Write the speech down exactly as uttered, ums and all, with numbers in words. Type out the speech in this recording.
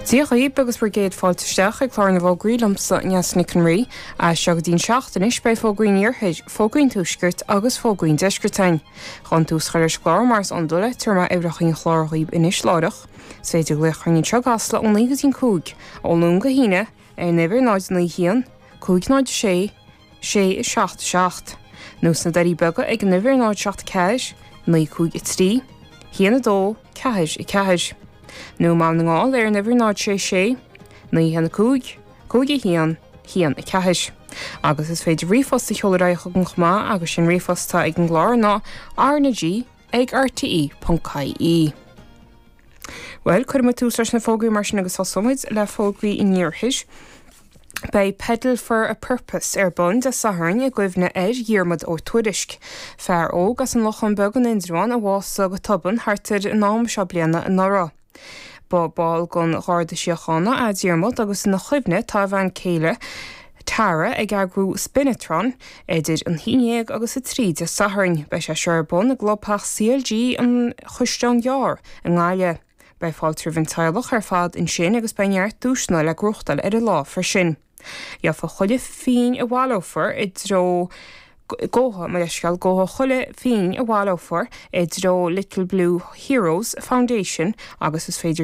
Dia dhaoibh agus bhur gcéad fáilte isteach ag clár na bhfógraí liomsa Neasa Nic an Rí. As seo go dtí'n seacht anois beidh fógraí an iarthair, fógraí an tuaiscirt agus fógraí an deiscirt againn. Chun tús a chur leis an gclár mar is iondúil tabharfaidh mé uimhreacha an chláir dhaoibh anois láithreach. Is féidir glaoch orainn anseo i gCasla ó naoi go dtí'n cúig, ó Luan go hAoine, ar an uimhir náid naoi haon, cúig náid sé, sé seacht seacht. Nó sna Doirí Beaga ag an uimhir náid seacht ceathair, naoi cúig a trí, haon a dó, ceathair a ceathair. Nó i mBaile na nGall ar an uimhir náid sé sé, naoi haon a cúig, cúig a haon, haon a ceathair. Agus is féidir ríomhphost a sheoladh ar aghaidh chugainn chomh maith agus sin ríomhphost atá ag an gclár ná RnaG ag RTE ponc IE. Bhuel, cuirfidh muid tús leis na fógraí mar sin agus tosóimid le fógraí an iarthair. Beidh Pedal for a Purpose ar bun Dé Sathairn i gcuimhne ar Dhiarmuid Ó Tuairisc. Fear óg as an Lochán Beag in Indreabhán a bhásaigh go tobann thart ar an am seo bliana anuraidh. Ba ball den Gharda Síochána é Diarmuid agus ina chuimhne tá a bhean céile Tara ag eagrú Spinatron idir an haon déag agus a trí Dé Sathairn. Beidh sé seo ar bun i gclubtheach CLG an Chaisleáin Ghearr i nGaillimh. Beidh fáilte roimh an teaghlach ar fad ansin agus beidh neart duaiseanna le gnóthachtáil ar an lá freisin. Gheofar chuile phingin a bhaileofar i dtreo gabhfaidh mo leithscéal gabhfaidh chuile phingin a bhaileofar i dtreo Little Blue Heroes Foundation agus is féidir